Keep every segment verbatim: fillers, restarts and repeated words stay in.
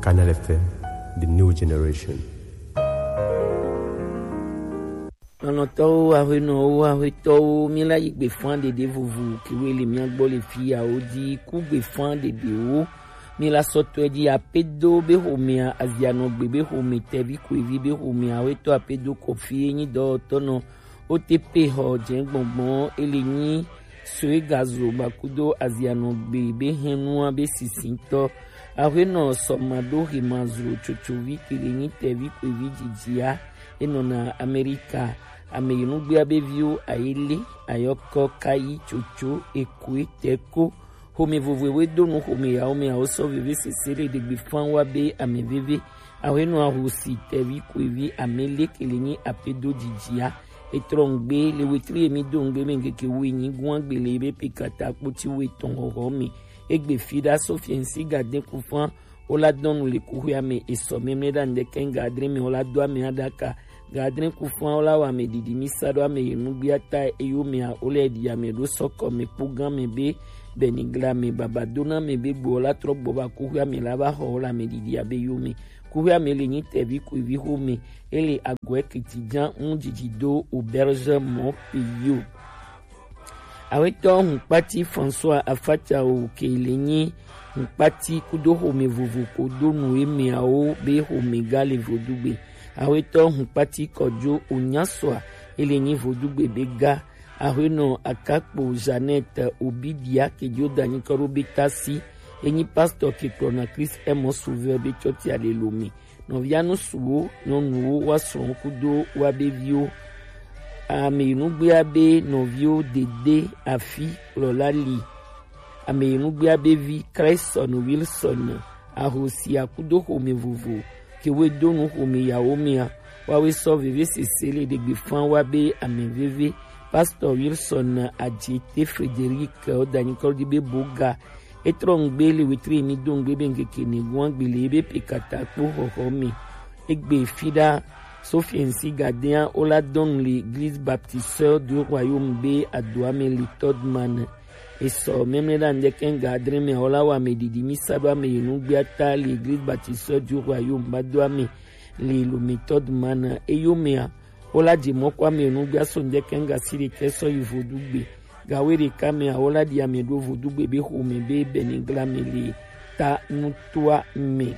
Canal F M, the new generation. Lɔlɔ̃tɔwo, aƒenɔwo, aƒetɔwo, míla yi gbe fã ɖeɖe vovo kewoe le mía gbɔ le fiyawo dzi. Ku gbe fã ɖeɖewo míla sɔtɔe dzi. Apedo be xomea, Azianɔgbe be xome, Tɛvi Koevi be xomea, aƒetɔ Apedo Kɔfi ye nyi dɔwɔtɔ nɔ O T P xɔ dze gbɔngbɔn, ele nyi Soe Gazo Bakudo Azianɔgbe be hɛnua be sisitɔ. Aƒenɔ Sɔmaɖo Hemazro Tsotsovi ke le nyi Tɛvi Koevi dzidzia, enɔna Amerika. Ame yi nugbea be viwo Ayele, Ayɔkɔ, Kayi, Tsotso, Ekoe, Tɛko. Xome vovoe do nu xome yawo me awo sɔ veve sese le ɖegbe fã wa be ame veve. Aƒenɔ Ahosi Tɛvi Koevi Amele ke le nyi Apedo dzidzia. Etrɔ ŋgbe le wetri emi do ŋgbe me ŋkeke wu enyi gua gbe le ebe pe kata kpoti wu etɔn xɔxɔ me. Egbe fi ɖa so fiɛnsi gaden kufan. Wola dɔnu le kuxuia me esɔ mɛmlɛ ɖa ŋdɛkɛ ŋga adre me wola do ame aɖaka. Ŋga adre kufan wola wɔ ame ɖiɖi mi sa ɖo ame yi nugbia ta eyo mea wole ɖi ame ɖo sɔkɔ me kpo gan me be bɛnigla me baba dona me be gbo wola trɔ gbɔ va kuxuia me la va xɔ wola ame ɖiɖi abe yo me. Kuxuia me le nyi Tɛvi Koevi xome. Ele agɔe kiti jan ŋu dzidzi do auberge mɔ peyo. Awetɔ hunkpati François Afatsa o ke le nyi hunkpati kudo xome vovo ko do nu emeawo be xome ga le vodugbe. Awetɔ hunkpati Kɔjo Onyasua ele nyi vodugbe be ga. Aƒenɔ Akakpo Jeannette Obidia ke dzo da nyikɔ ɖo be tasi enyi pastor ke kplɔna Christ Aime Sauveur be tsɔtia le Lome. Nɔvia ŋutsuwo, nyɔnuwo, woa srɔ̃wo kudo woa be viwo. Ame yi nugbea be nɔviwo Dede Afi kplɔla li. Ame yi nugbea be vi Craigson Wilson Ahosia kudo xome vovo ke woe do nu xome yawo mea, woawoe sɔ veve sese le ɖegbe fã wa be ame veve. Pastor Wilson Adjete Frederic woda nyikɔ ɖi be boga. Etrɔ ŋgbe le wetri emi do ŋgbe be ŋkeke ne gua gbe le ebe pe kata kpo xɔxɔ me. Egbe fi ɖa Sofiensi gadea wola dɔnu le Église Baptiste Sœur du Royaume be adoa me le Todman. Esɔ mɛmlɛ ɖa ŋdɛkɛ ŋga adre me wola wa me ɖiɖi mi sa ɖo ame yi nugbea ta le Église Baptiste Sœur du Royaume ba do ame le Lome Todman. Eyo mea wola dze mɔ kɔ ame yi nugbea so ŋdɛkɛ ŋga si ɖekɛ sɔ yi vodugbe. Gawe ɖeka mea wola ɖi ame ɖo vodugbe be xome be bɛnigla me le ta nutoa me.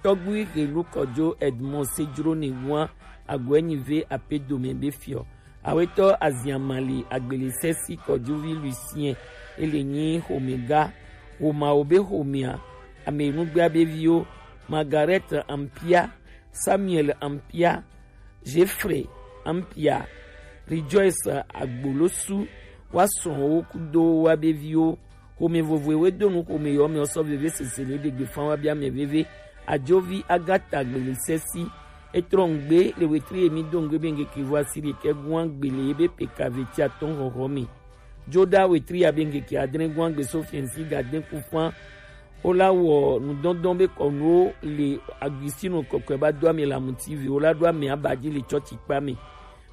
Tɔgbui Helu Kɔdzo Edmond Sejro ne ŋua agbɔɛ nyi ve ape dome be fiɔ. Awetɔ Aziamali Agbelesɛsi Kɔdzovi Lucien ele nyi xomega. Xomawo be xomea ame nugbea be viwo Margaret Ampia, Samuel Ampia, Jeffrey Ampia, Rejoice Agbolosu, wa srɔ̃wo kudo wa be viwo. Xome vovoe we do nu xome yɔ me sɔ veve sese le ɖegbe fan wa bia me veve. Ajovi Agata Gbele Sesi. Etrɔ ŋgbe le wetri emi do ŋgbe be ŋgeke vo asi ɖekɛ gua gbele ebe peka veti atɔn xɔxɔ me. Joda wetri ya be ŋgeke adre gua gbe so fiensi gaden kufan. Wola wɔ nudɔndɔn be kɔnuwo le Agustino kɔkɔe ba do ame le amuti vi wola ɖo ame aba dzi le tsɔtsi kpa me.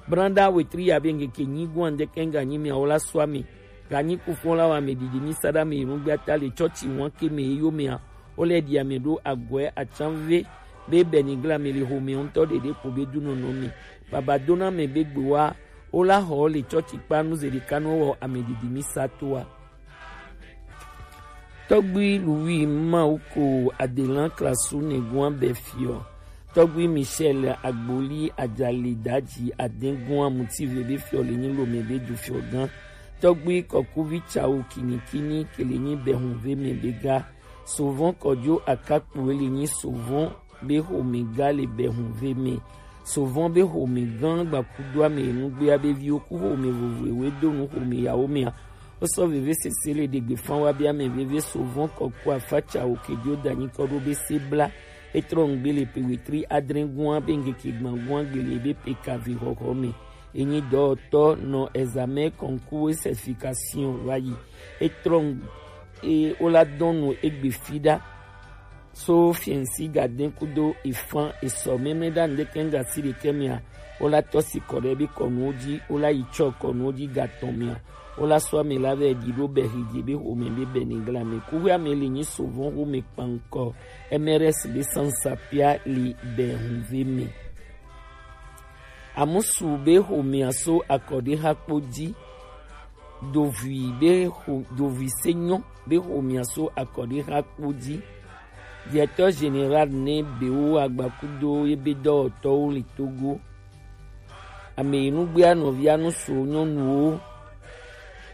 Branda wetri ya be ŋgeke nyi gua ŋdɛkɛ ŋga nyi mia wola sɔ ame. Ganyi kufɔn la wa me ɖiɖi mi sa ɖa me yi nugbea ta le tsɔtsi wan ke me eyo mea. Wole ɖi ame ɖo agɔe atsanve be bɛnigla me le xome ŋutɔ ɖeɖe ko be dunɔnɔ me. Baba dona me be gbewa wola xɔ le tsɔtsi kpa nu ze ɖeka nu wɔ ame ɖiɖi mi sa toa. Tɔgbui Louis Mawuko Adelan Klasu Negoa be fiɔ. Tɔgbui Michel Agboli Ajali Daji Adengua Mutive be fiɔ le nyi Lome be du fiɔ gan. Tɔgbui Kɔkuvi Tsawo Kinikini ke le nyi Behunve me be ga. Sovɔn Kɔdzo Akakpo le nyi Sovɔn be xome ga le Behunve me. Sovɔn be xome gan gbakudo ame nugbea be viwo ku xome vovoe we do nu xome yawo mea. Wosɔ veve sese le ɖegbe fan wa be ame veve Sovɔn Kɔku Afatsa wo kejo da nyikɔ ɖo be se bla. Etrɔ ŋgbe le pe wetri adre gua be ŋgeke gban gua gbe le be pe kavi xɔxɔ me. Enyi dɔwɔtɔ nɔ examen concours certification wa yi. Etrɔ ŋ-, e, wola dɔnu egbe fi ɖa. So fiensi gaden kudo efan esɔ mɛmɛ ɖa ŋdɛkɛ ŋga si ɖekɛ mea, wola tɔ si kɔ ɖe be kɔnuwo dzi, wola yi tsɔ kɔnuwo dzi gatɔn mea. Wola sɔ ame la vɛ ɖi ɖo Bɛhidze be xome be Bɛnigla me. Kuxi ame le nyi sovɔn xome kpankɔ M R S be sansapia le Bɛhunve me. Amusu be xomea so akɔɖixa kpo ji. Dovui be xo dovui senyɔ be xomea so akɔɖixa kpo ji. Directeur général ne bewo agbakudo ebe dɔwɔtɔwo le Togo. Ame yi nugbea nɔvia nusu nyɔnuwo.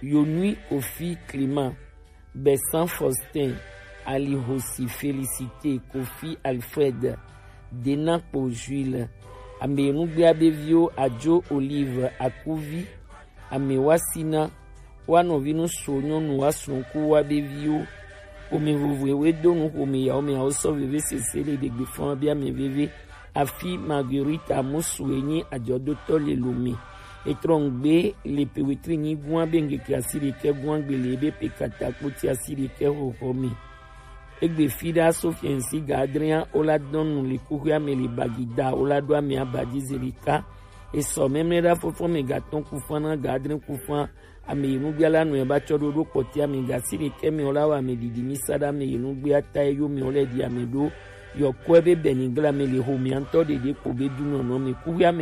Yonui Kofi Clément, Bessan Faustin, Alihosi Félicité, Kofi Alfred, Denakpo Jules. Ame yi nugbea be viwo Adzo Olive Akuvi, Ame wa sina wa nɔvi nusu nyɔnu wa sunku wa be viwo. Xome vovoe we do nu xome yawo me awo sɔ veve sese le ɖegbe fɔn bi ame veve. Afi Marguerite Amusu enyi ajɔdotɔ le lome. Etrɔ ŋgbe le pewetri nyi gua be ŋgeke asi ɖekɛ gua gbe le ebe pe kata kpoti asi ɖekɛ xɔxɔ me. Egbe fi ɖa so fiɛnsi gadria o la dɔn nu le kuxia me le bagida o la ɖo ame abadi zelika. Esɔ mɛmlɛ ɖa fɔfɔ me gatɔn kufan na gadrin kufan. Ame yi nugbea la nɔe ba tsɔ ɖo ɖo kpɔti ame gasi ɖekɛ me o la wa ame didi mi sa ɖa ame yi nugbea ta yo me o lɛ di ame ɖo. Yɔkɔe be Bɛnigla me le xomea ŋutɔ ɖeɖe kpo be dunɔnɔ me kuxia me